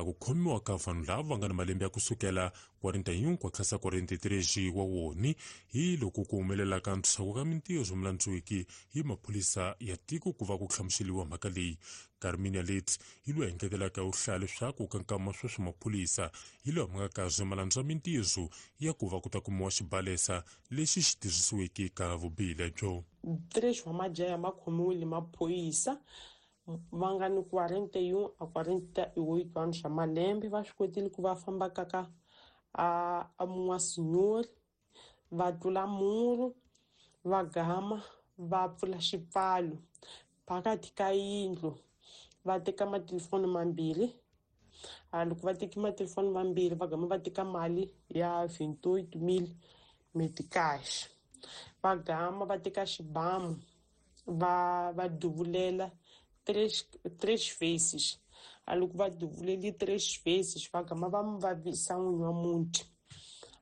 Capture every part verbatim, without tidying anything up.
a ku khomiwa ka vanhu lava va nga na malembe ya kusukela quarenta e um ku tlhasa quarenta e três wa woni hi loko ku humelela ka ntshaku ka mintirho mulandziwiki hi maphorisa ya tiko ku va ku hlamuseliwa mhaka leyi. Carmina Leite hi loyi engetelaka u hlaya leswaku ka nkama sweswi maphorisa hi loyi ma nga kazi ma landza mintirho ya ku va ku ta kumiwa xibalesa lexi xi tirhisiweke ka vubihi lebyo. Três wa majaha ma khomiwile maphorisa, va nga ni quarenta e um a quarenta e oito anos swa malembe. Va swi kotile ku va famba ka ka a a n'wasinyori, va tlula muru, va gama va pfula xipfalo phakathi ka yindlu, va teka matelefoni mambirhi. A loko va teki matelefoni mambirhi, va gama va teka mali ya vinte e oito mil meticais, va gama va teka xibamu, va va duvulela três três vezes. A loko va duvuleli três vezes, va gama va mu vavisa n'winyi wa muti,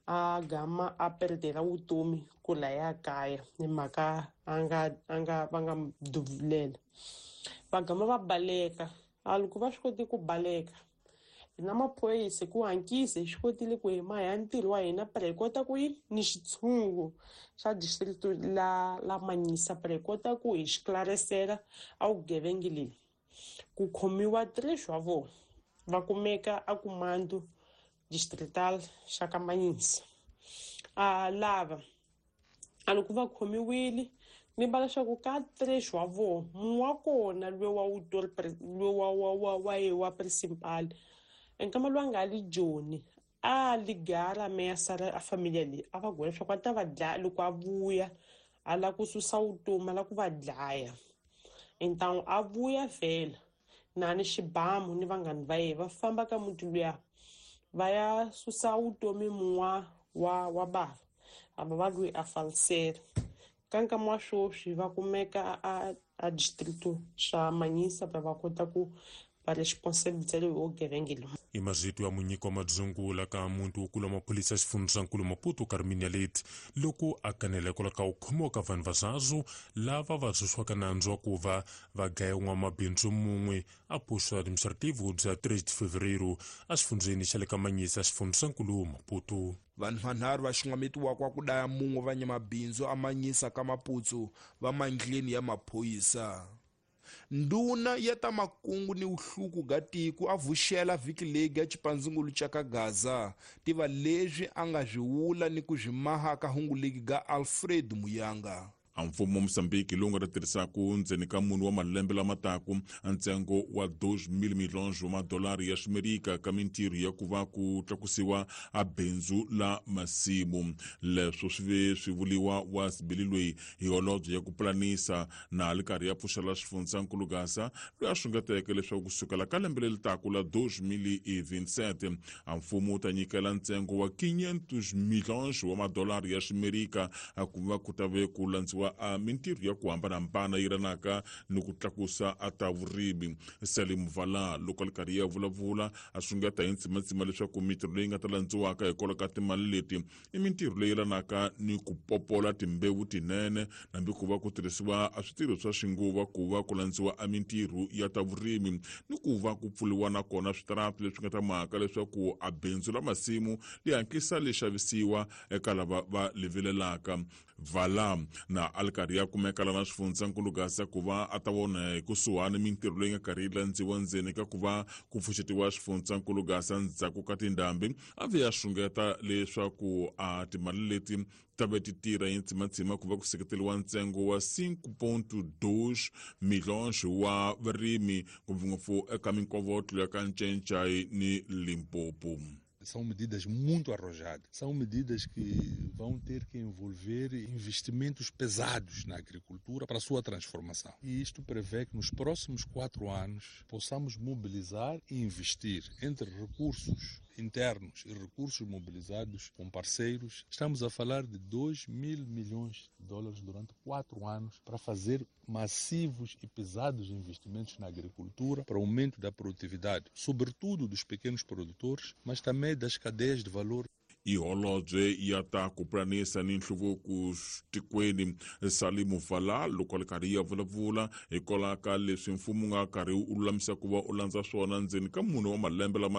a gama a perdela vutomi ku laya kaya hi mhaka a nga a nga va nga mu duvulela. Va gama va baleka. A loko va swi koti ku baleka, hina maphorisa ku hankisa hi swi kotile ku hi maha ntirho wa hina para hi kota ku yi ni xitshungu xa district la la Manhiça para hi kota ku hi xiklarisela a vugevenga leyi. Ku khomiwa três wa vona, va kumeka a comando distrital xa ka Manhiça. A lava a loko va khomiwile, ni va leswaku ka três wa vona, mun'we wa kona luye wa wutori, luye wa wa wa wa ye wa principal, nkama loyi a nga li Joni a ligara ameaçar a família leyi, a va gwela leswaku a ta va dlaya loko a vuya, a lava ku susa vutomi, a lava ku va dlaya. Então a vuya vhela na ni xibamu ni vanghani va yena, va famba ka muti luya, va ya susa vutomi mun'wa wa wa bava ava va lweyi a falisela. Ka nkama wa sweswi va kumeka a a distrito xa Manhiça va va kota ku va responsabilizela hi vugevenga lowu. I mazito ya munyiki wa madzungula ka muti wo kula maphorisa xifundzankulu Maputo, Carmina Leite, loko a kanela hikwalaho ka ku khomiwa ka vanhu vazazu lava va byisiwaka nandzu wa ku va va dlaya n'wamabindzu mun'we a posto administrativo bya três de Fevereiro exifundzeni xa le ka Manhiça, xifundzankulu Maputo. Vanhu vanharhu va xungametiwaka ku daya mun'we va nyamabindzu amanyisa ka Maputsu va mandleni ya maphorisa. Ndhuna ya ta makungu ni vuhluku ga tiko a vuxela vhiki leyi ga xipandzungulu xa ka Gaza. Tiva leswi a nga swi vula ni ku swi maha ka hungu legi ga Alfred Muyanga. A mfumo wa Mosambiki lowu nga ta tirhisaku ndzeni ka munhu wa malembe lama taku ntsengo wa dois mil milhões wa madolari ya ximerika ka mintirho ya ku va ku tlakusiwa a bindzu la masimu. Leswo swi ve swi vuliwa wa sibili loyi hi holobye ya ku pulanisa na li karhi ya pfuxela xifundzankulu Gaza, loyi a xungeteke leswaku kusukela ka lembe leri taku la deux mille vingt-sept a mfumo wu ta nyikela ntsengo wa quinhentos milhões wa madolari ya ximerika a ku va ku ta ve ku landziwa a mintirho ya ku hambanahambana yi ranaka ni ku tlakusa a ta vurimi. Salim Vala loko a li karhi ya vulavula a xungeta hi ntsimatsima leswaku mintirho leyi nga ta landziwaka hikwalaho ka timali leti i mintirho leyi yelanaka ni ku popola timbewu tinene, hambi ku va ku tirhisiwa a switirho swa xinguva ku va ku landziwa a mintirho ya ta vurimi, ni ku va ku pfuriwa nakona switarati leswi nga ta mhaka leswaku a bindzu la masimu li hatlisa li xavisiwa eka lava va livilelaka. Vala na a li karhi ya kumeka lana xifundzankulu Gaza ku va a ta vona hi kusuhani mintirho leyi nga karhi yi landziwa ndzeni ka ku va ku pfuxetiwa xifundzankulu Gaza ndzhaku ka tindhambi, a ve ya xungeta leswaku a timali leti ta ve ti tirha hi ntsimatsima ku va ku seketeliwa ntsengo wa cinco ponto dois milhões wa varimi, ngopfungopfu eka minkovotlo ya ka Ncencai ni Limpopo. São medidas muito arrojadas. São medidas que vão ter que envolver investimentos pesados na agricultura para a sua transformação. E isto prevê que nos próximos quatro anos possamos mobilizar e investir entre recursos internos e recursos mobilizados com parceiros. Estamos a falar de dois mil milhões de dólares durante quatro anos para fazer massivos e pesados investimentos na agricultura para o aumento da produtividade, sobretudo dos pequenos produtores, mas também das cadeias de valor. I holobye ya ta ku pulanisa ni nhluvuko tikweni, Salimu Vala, loko a li karhi ya vulavula hikwalaho ka leswi mfumo wu nga karhi wu lulamisa ku va u landza swona ndzeni ka mune wa malembe lama.